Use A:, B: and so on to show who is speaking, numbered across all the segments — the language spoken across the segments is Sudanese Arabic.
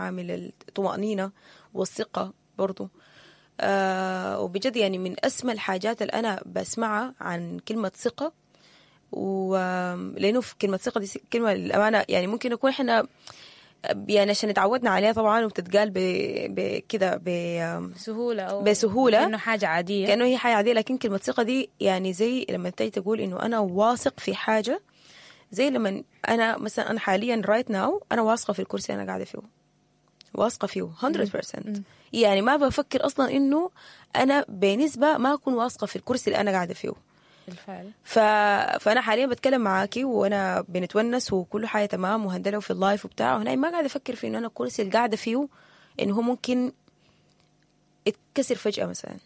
A: عامل الطمأنينة والثقة برضو. وبجد يعني من أسمى الحاجات الأنا بسمعها عن كلمة ثقة، ولأنه في كلمة ثقة دي كلمة للأمانة يعني ممكن نكون إحنا يعني عشان اتعودنا عليها طبعا وبتتقال بكده
B: سهولة أو
A: بسهولة،
B: كأنه حاجة عادية،
A: كأنه هي حاجة عادية. لكن كلمة ثقة دي يعني زي لما تيجي تقول إنه أنا واثق في حاجة، زي لما أنا مثلا أنا حاليا right now أنا واثقة في الكرسي أنا قاعدة فيه، واثقة فيه 100%. يعني ما بفكر أصلا إنه أنا بنسبة ما أكون واثقة في الكرسي اللي أنا قاعدة فيه
B: بالفعل.
A: فأنا حاليا بتكلم معاكي وأنا بنتونس وكل حاجة تمام وهندلة في ال live وبتاع، وهنا ما قاعدة أفكر في إنه أنا الكرسي اللي قاعدة فيه إنه هو ممكن يتكسر فجأة مثلا،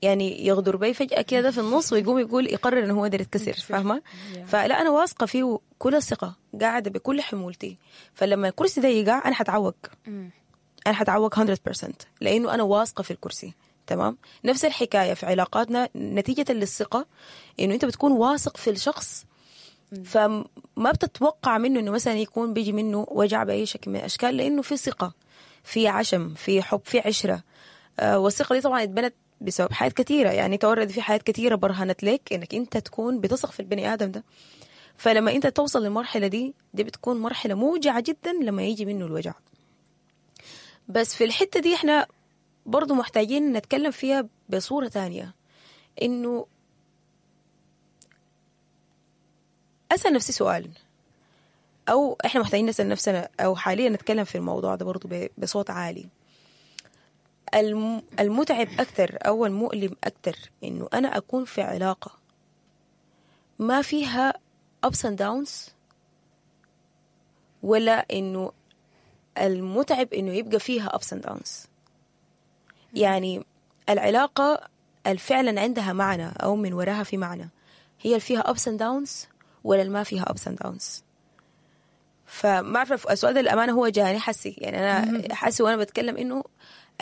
A: يعني يغدر بي فجأة كده في النص ويقوم يقول يقرر إنه هو قدر يتكسر، فاهمة؟ فلا أنا واثقة فيه كل الثقة، قاعدة بكل حمولتي. فلما الكرسي ده يقع أنا حتعوق، أنا حتعوق 100% لأنه أنا واثقة في الكرسي. تمام؟ نفس الحكاية في علاقاتنا، نتيجة للثقة إنه أنت بتكون واثق في الشخص، فما بتتوقع منه إنه مثلا يكون بيجي منه وجع بأي شكل من الأشكال، لأنه في ثقة، في عشم، في حب، في عشرة. والثقة دي طبعا اتبنت بسبب حاجات كثيرة، يعني تورد في حاجات كثيرة برهنت لك إنك أنت تكون بتثق في البني آدم ده. فلما أنت توصل للمرحلة دي بتكون مرحلة موجعة جدا لما يجي منه الوجع. بس في الحتة دي إحنا برضو محتاجين نتكلم فيها بصورة تانية، إنه أسأل نفسي سؤال، أو إحنا محتاجين نسأل نفسنا، أو حاليا نتكلم في الموضوع ده برضو بصوت عالي. المتعب أكتر أو المؤلم أكتر إنه أنا أكون في علاقة ما فيها ups and downs، ولا إنه المتعب إنه يبقى فيها ups and downs؟ يعني العلاقة الفعلا عندها معنى أو من وراها في معنى، هي اللي فيها ups and downs ولا اللي ما فيها ups and downs؟ فما أعرف، السؤال ده للأمانة هو جاني حسي، يعني أنا حاسة وأنا بتكلم إنه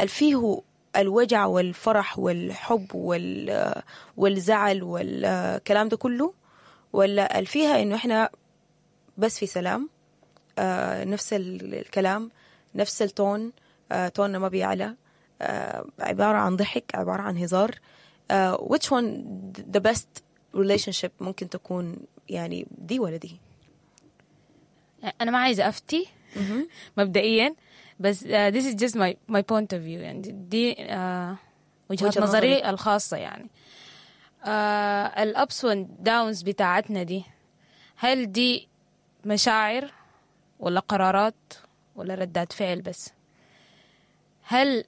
A: فيه الوجع والفرح والحب والزعل والكلام ده كله، ولا فيها إنه إحنا بس في سلام، نفس الكلام، نفس ال tone، توننا ما بيعلى، عبارة عن ضحك، عبارة عن هزار. which one the best relationship ممكن تكون، يعني دي ولا دي؟
B: أنا ما عايزة أفتي مبدئيا، بس this is just my point of view، يعني دي وجهة نظري الخاصة. يعني ال ups and downs بتاعتنا دي، هل دي مشاعر ولا قرارات ولا ردات فعل بس؟ هل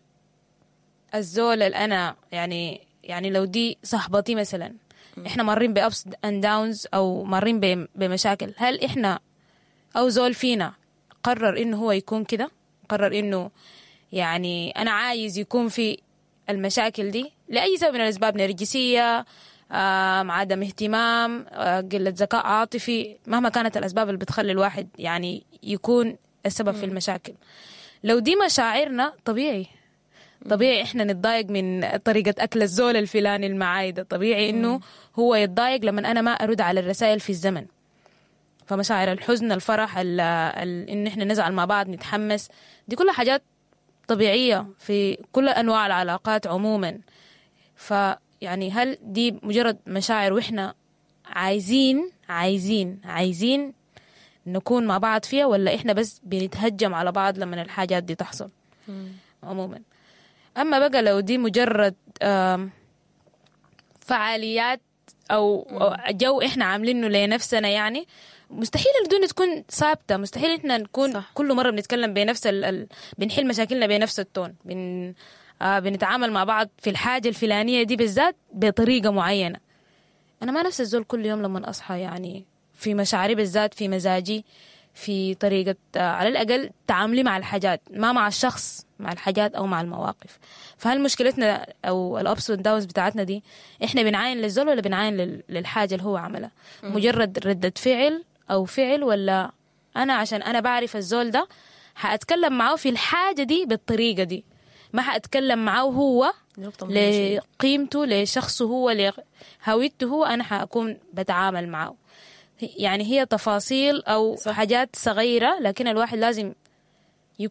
B: الزول اللي أنا يعني لو دي صاحبتي مثلا، إحنا مارين ب ups and downs أو مارين بمشاكل، هل إحنا أو زول فينا قرر إنه هو يكون كده، قرر إنه يعني أنا عايز يكون في المشاكل دي لأي سبب من الأسباب، نرجسية، عدم اهتمام، قلة ذكاء عاطفي، مهما كانت الأسباب اللي بتخلي الواحد يعني يكون السبب في المشاكل. لو دي مشاعرنا طبيعي إحنا نتضايق من طريقة أكل الزول الفلاني المعايدة، طبيعي إنه هو يتضايق لما أنا ما أرد على الرسائل في الزمن. فمشاعر الحزن، الفرح، إن إحنا نزعل مع بعض، نتحمس، دي كلها حاجات طبيعية في كل أنواع العلاقات عموما. فيعني هل دي مجرد مشاعر وإحنا عايزين عايزين عايزين نكون مع بعض فيها، ولا إحنا بس بنتهجم على بعض لما الحاجات دي تحصل عموما؟ أما بقى لو دي مجرد فعاليات أو جو إحنا عاملينه لنفسنا، يعني مستحيل الدنيا تكون ثابتة، مستحيل إحنا نكون صح. كل مرة بنتكلم بنفس بنحل مشاكلنا بنفس التون، بنتعامل مع بعض في الحاجة الفلانية دي بالذات بطريقة معينة. أنا ما نفس الزول كل يوم لما أصحى، يعني في مشاعري بالذات، في مزاجي، في طريقة على الأقل تعاملي مع الحاجات، ما مع الشخص، مع الحاجات أو مع المواقف. فهل مشكلتنا أو ال ups وال downs بتاعتنا دي إحنا بنعاين للزول ولا بنعاين للحاجة اللي هو عملها؟ مجرد ردة فعل أو فعل، ولا أنا عشان أنا بعرف الزول ده حأتكلم معه في الحاجة دي بالطريقة دي، ما حأتكلم معه هو لقيمته، لشخصه هو، لهويته هو، أنا حأكون بتعامل معه. يعني هي تفاصيل أو صح. حاجات صغيرة، لكن الواحد لازم يكون